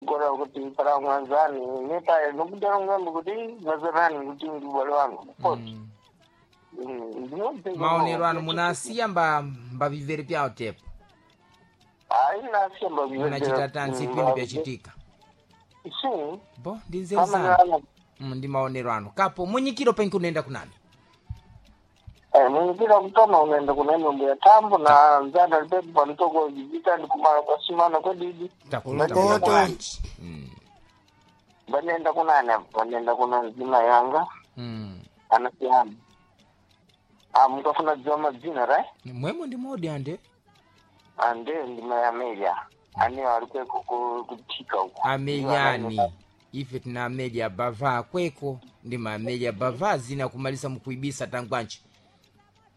Gora kuti para mwanzani neta nokudaro ngambo kuti mazanani kuti ndibale wangu koti. Maonero anu munasiya mbavivere pyawo tepo? Hayi, nasiya mbavivere. Munachita tansi pindi pyachitika? Si. Bo ndi nzeru zanu. Ndi maonero anu kapo munyikiro penki unaenda kunani? Munyikiro kutoma unaenda kuna imwe mbuya tambo na nzana lipepo panitoko jivita ndikumala kwasimana kwedidi. Takuta. Vanenda kunani apo vanenda kuna nzima yanga. Anasiyana mukafuna dziwa madzina, right? Mwemo ndi modi ande. Ande ndima ya Amelia ane ari kweko kuthika uko. Ameliani ife tina Amelia bava kweko ndi ma Amelia bava zina kumalisa mukuibisa tangwanji.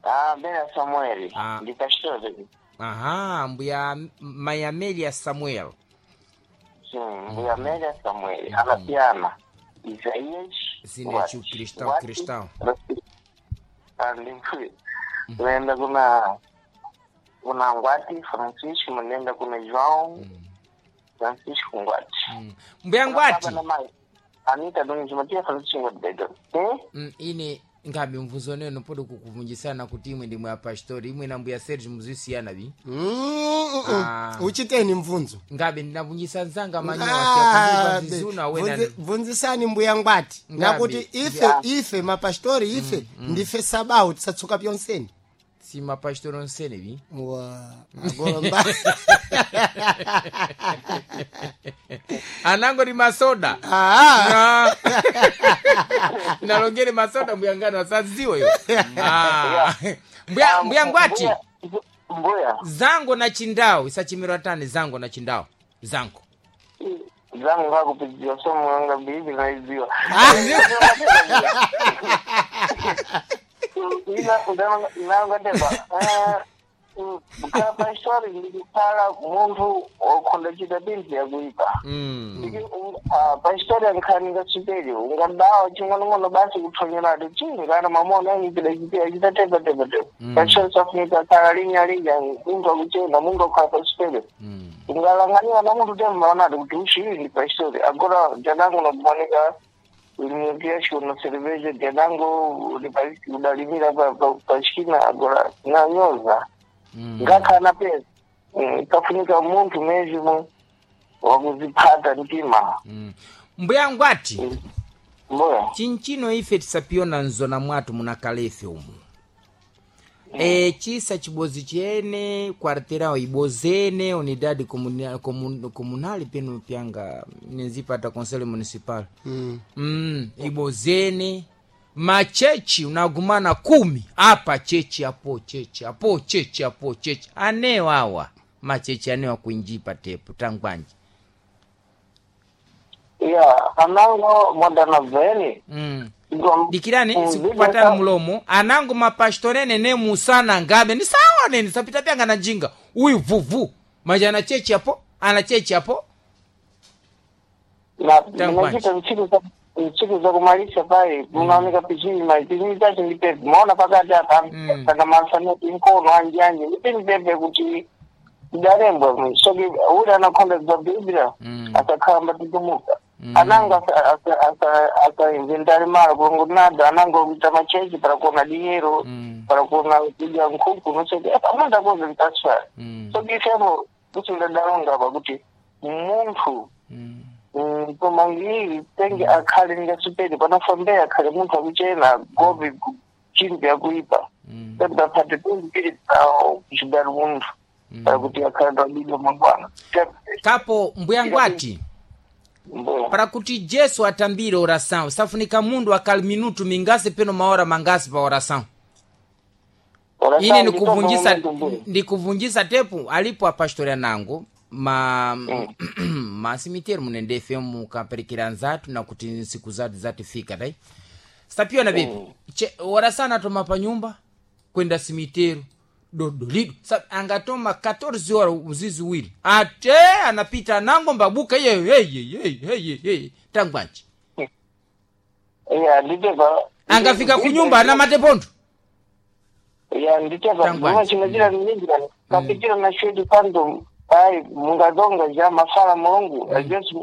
Ah, Amelia Samuel. Ah. Ndikashore. Aha, mbuya mai Amelia Samuel. Mbuya Amelia Samuel anasiyana Isaías. Zina chu Cristão, Cristão. Andimfui munoenda kuna Ngwati Francisco, munoenda kuna João Francisco Ngwati. Mbuya Ngwati. Baba na mai Anita Domingos Matia Francisco Ngwati Bedo. Ine ngabe mvuzo neno podo kukuvunjisana kuti imwe ndimwe apastori imwe na mbuya Serge muzisiyana bi. Ah. Uchiteni mvunzo? Ngabe ndinavunjisa nzanga manyowa Ah, siyakumva zizuna wena. Bvunzisani mbuya Ngwati. Ngabe. Nakuti ife mapastori ife ndife sabawo tisatsuka pyonseni. Si mapastori onsene bi. Wa agomba. Anango ni masoda. Ah. Nalongere masoda mbuya ngano asaziwe yo. Ah. Mbuya Ngwati. Mbuya. Zango na chindao isachimirwa tani zango na chindao zango. Zangu ngakupidziwa somo yanga bibi naiziwa. Inangateba kapastori ndikukhala munthu wokhonda chita binthu yakuipa. Pastori ankhaninga chiperi ungadawa ching'onong'ono basi kuthonyerati chingana mamona anyipida chipiya chita tepa tepa tepa. Pastori safunika khala linya linya munthu akuchena munthu akhala pachipere. Ungalanganiwa na munthu tembaonati kuti uchiyi ndi pastori agora jadangu nakumanika ulimpiashi una cerveja jadangu udalimira pachina agora nanyoza ngakhana pesa kafunika munthu mezimo wakuziphata mtima. Mbuya Ngwati. Mbuya. Chinchino ife tisapiyona nzona mwathu munakalefe umu. Chisa chibozi chene kwarterao ibozene unidade comunal peno pyanga nenzipata conselho municipal. Ibozene machechi unagumana 10 apa chechi apo chechi apo chechi apo chechi anewa awa machechi anewa kuinjipa tepo tangwanji. Ya anango modana veni. Dikirani sikupatana mulomo anango mapastorene ne musana ngabe ni sawa nene sapita pyanga na njinga uyu vuvu manje ana chechi apo ana chechi apo. Nachita ntsiku zakumalisa pai munaoneka pichini mai pichini chacho ndi pepe maona pakati apa kana masanoti nkono anji anji ndipini pepe kuti idarembwa soki uli anakhonda dzabhibhira asakhala mbatitumuka ananga asainventari mara kungunada ananga kuita machechi para kuona diyero para kuona kudya nkhuku nosoti amundu akoze mtaswari soki ifepo kusindadarunga pakuti munthu komangiri tenge akhale ngasipedi panafambea akhale munthu akuchena gobe chimbi akuipa pembaphate pembiri pawo kuchidari munthu pakuti akhale pabidwa mangwana. Kapo mbuya Ngwati. Mbuya. Para kuti Jesu atambire oração safunika mundu akali minutu mingasi peno maora mangasi pa oração ine ndikuvunjisa tepu alipo apastoria nango ma masimiteri munendefe mukaperekera nzatu nakuti nsiku zatu zatifika dai sapiona vipi oração atoma pa nyumba kwenda simiteru dodolido angatoma 14 horas uzizi wili ate anapita nango mbabuka iye hey, tangwanji. Ya nditepa. Angafika kunyumba ana matepondo. Ya nditepa. Tangwanji. Mwa chinachira ninjira kapitira na shedi pando ai mungadonga ja mafala mulungu ajesu.